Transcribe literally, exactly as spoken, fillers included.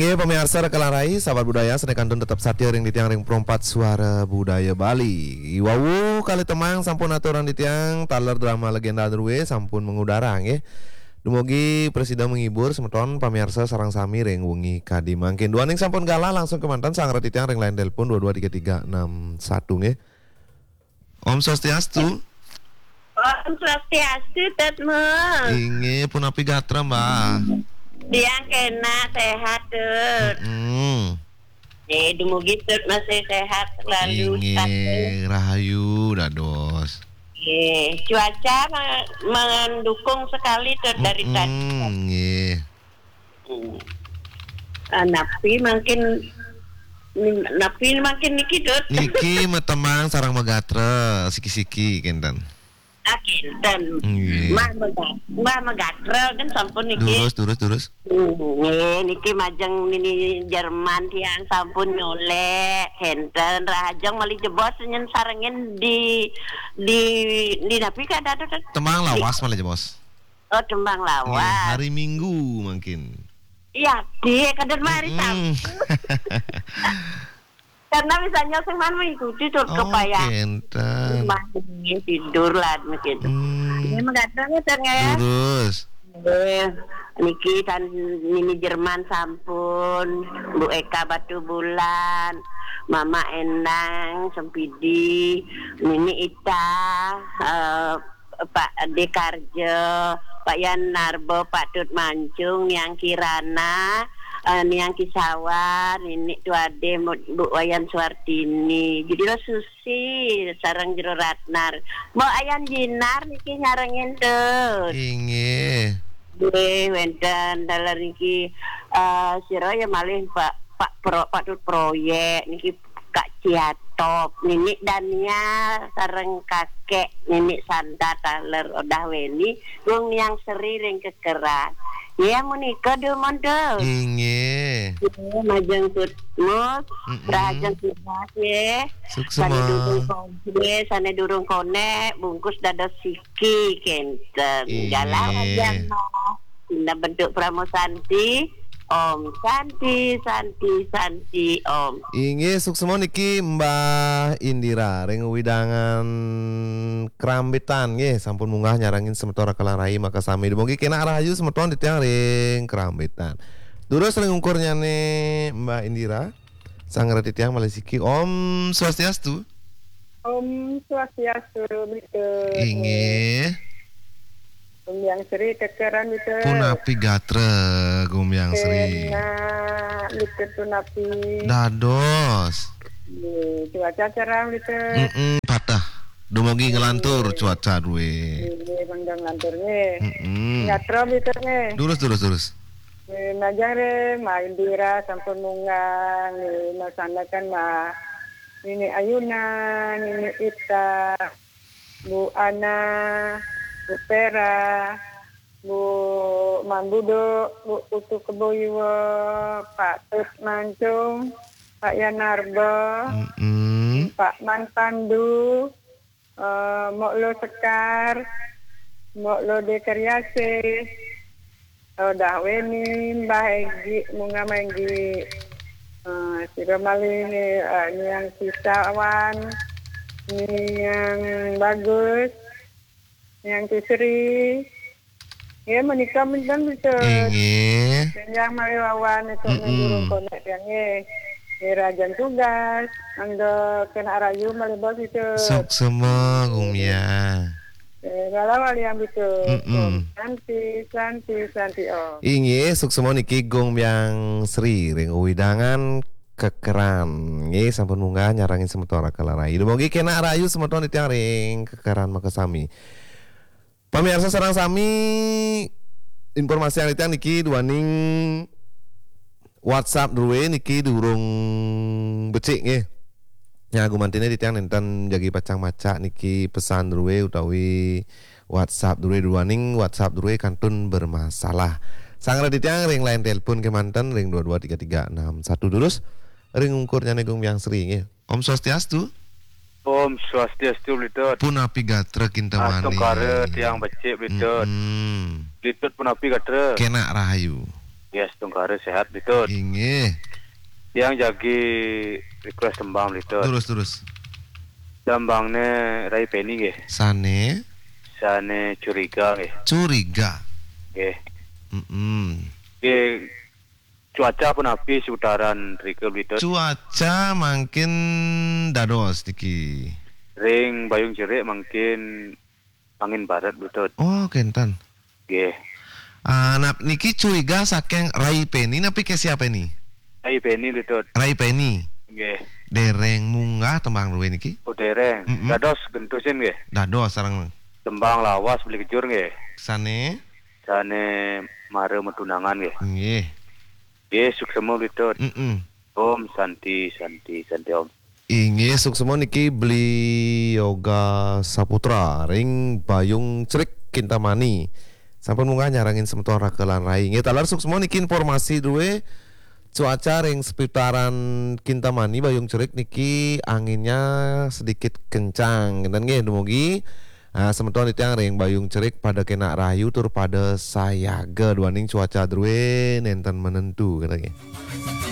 Oke, pemirsa Rekalang Rai, sahabat budaya, sané kantun tetep satia ring titiang ring Perempat Suara Budaya Bali. Iwau kali temang sampun aturang titiang, taler drama legenda drué sampun mengudara, nggih. Dumugi prasida menghibur semeton pamirsa sareng sami ring wengi kadi mangkin. Duaning sampun galah, langsung kemanten sanggra titiang ring line telepon dua dua tiga tiga enam satu, nggih. Om Swastiastu. Om Swastiastu, Tut Mus. Inggih, punapi gatra, Mbah? Tiang kénak séhat, Tut. Mm-mm. Eh, dumugi Tut masih séhat selalu. Inggih, rahayu dados. Eh, cuaca me-, mendukung sekali, Tut, dari tadi. Mm-mm, nggih. Hmm. Ah, napi mangkin, napi mangkin niki, Tut? Niki matemang sareng magatra, siki-siki kénten. Ah, kénten. Nggih. Mbah mega-, Mbah magatra kan sampun niki. Durus, durus, durus. Hmm, nggih, niki majeng nini Jerman tiang sampun nyolek, kénten rahajeng malih jebos nyen sarengin di, di, di napi kadada, Tut? Temang lawas malih jebos. Oh, tembang lawas. Nggih, hari Minggu mangkin. Iya, Dik, kadén mah hari Sabtu. Karena misalnya sing man mengikuti tur kepayahan. Oh, kénten. Mah tidur lah begitu. Hmm. Ini menggadang ya, Tang, ya? Durus. Eh, niki tan nini Jerman sampun, Bu Eka Batubulan, Mama Endang, Sempidi, Nini Ita, eh, Pak Ade Karjo, Pak Yan Narbo, Pak Tut Mancung, Niang Kirana, eh, Niang Kisawan, Nini Tuade, Bu Wayan Suartini. Jadi lo Susi, sareng Jero Ratnar. Mbok Ayan Jinar niki nyarengin, Tut. Inggih. Nggih, wénten taler niki, eh, sira ya malih Pak, Pak Pro-, Pak Tut Proyek niki Kak Ciatop, Nini Dania sareng Kakek Nini Santa taler Odah Weni, Gung Niang Seri ring Kekeran. Ya, menika dumun, Tut. Inggih. Ya, majeng Tut Mus, mm-mm, rahajeng tugas ya. Suksma. Sané durung konek, sané durung konek, bungkus dados siki kénten. Inggih. Galah majeng, Mas. Dina bentuk Pramo Santi. Om Santi, Santi, Santi, Om. Inggih, suksma niki Mbah Indira ring wewidangan Krambitan nggih, sampun munggah nyarengin semeton Rekalang Rai makasami. Dumugi kénak rahayu semeton titiang ring Krambitan. Durus ring ungkurnyané Mbah Indira, sanggra titiang malih siki. Om Swastiastu. Om Swastiastu, Bitu. Inggih. Gumbyang Sri, kekeran, Bitu. Punapi gatra, Gumbyang Sri? Kénak, Bitu, punapi? Dados. Nggih, cuaca cerah, Bitu. Mm-mm, patah. Dumugi nglantur cuaca drué. Nggih, mangda nglantur, nggih. Mm-mm. Gatra, Bitu, nggih. Durus, durus, durus. Nggih, majeng ring Mbah Indira sampun munggah, nggih, masandekan Mbah Nini Ayuna, Nini Ita, Bu Ana, Bu Pera, Bu Mambudo, Bu Putu Kebo Iwa, Pak Tut Mancung, Pak Yanarba, mm-mm, Pak Man Pandu, eh, Mok Lo Sekar, Mok Lo Dekariase, Odah Weni, Mbah Egi, Munga Menggi, eh, sira malih, eh, Niang Sisawan, Niang Bagus, Niang Kisri. Ya, menika menten bisa. Inggih. Yang malih wawan itu mm-mm, durung konek yang, nggih. Nggih, rahajeng tugas, mangda kénak rahayu malih bos itu. Suksma, Gumbyang. Eh, kalau wali yang itu. Mm-mm. Om Santi, Santi, Santi, Om. Inggih, suksma niki Gumbyang Sri ring wewidangan Kekeran. Nggih, sampun munggah nyarengin semeton Rekalang Rai. Dumugi kénak rahayu semeton titiang ring Kekeran makasami. Pamirsa sareng sami, informasiang titiang niki duaning WhatsApp drué niki durung becik nggih. Nya, gumantiné titiang nénten jagi pacang maca niki pesan drué utawi WhatsApp drué, duaning WhatsApp drué kantun bermasalah. Sanggra titiang ring line telepon kémanten ring dua dua tiga tiga enam satu, durus ring ungkurnyané Gumbyang Sri nggih. Om Swastiastu. Om Swastiastu, Bli Tut. Punapi gatra kintamani? Astungkara tiang becik, Bli Tut. Mm-mm. Bli Tut punapi gatra? Kénak rahayu. Nggih, astungkara sehat, Bli Tut. Inggih. Tiang jagi request tembang, Bli Tut. Terus, terus. Tembangnya Rai Peni nggih. Sane? Sane Curiga nggih. Curiga. Nggih. Mm-mm. Nggih, cuaca punapi seputaran mriki, Bli Tut? Cuaca mangkin dados niki. Ring Bayung Cerik mangkin angin barat, Bli Tut. Oh, kenten. Nggih. Ah, nah, niki Curiga saking Rai Peni, napi ke siapa ini? Rai Peni, Bli Tut. Rai Peni. Nggih. Dereng munggah tembang druwe niki? Oh, dereng. Mm-mm. Dados gentosin nggih. Dados sareng. Tembang lawas Beli Kejur nggih. Sane? Sane Mara Matunangan nggih. Nggih. Nggih, suksema, Bli Tut. Mm-mm. Om Santi, Santi, Santi Om. Inggih, suksema niki Beli Yoga Saputra ring Bayung Cerik, Kintamani. Sampun munggah nyarengin semeton Raka lan Rai. Inggih, taler suksema niki informasi druwe cuaca ring seputaran Kintamani, Bayung Cerik niki anginnya sedikit kencang. Ngenten nggih, dumugi, ah, semeton titiang ring Bayung Cerik pada kenak rahayu tur pada sayaga duaning cuaca druwe nenten menentu, ngenten nggih.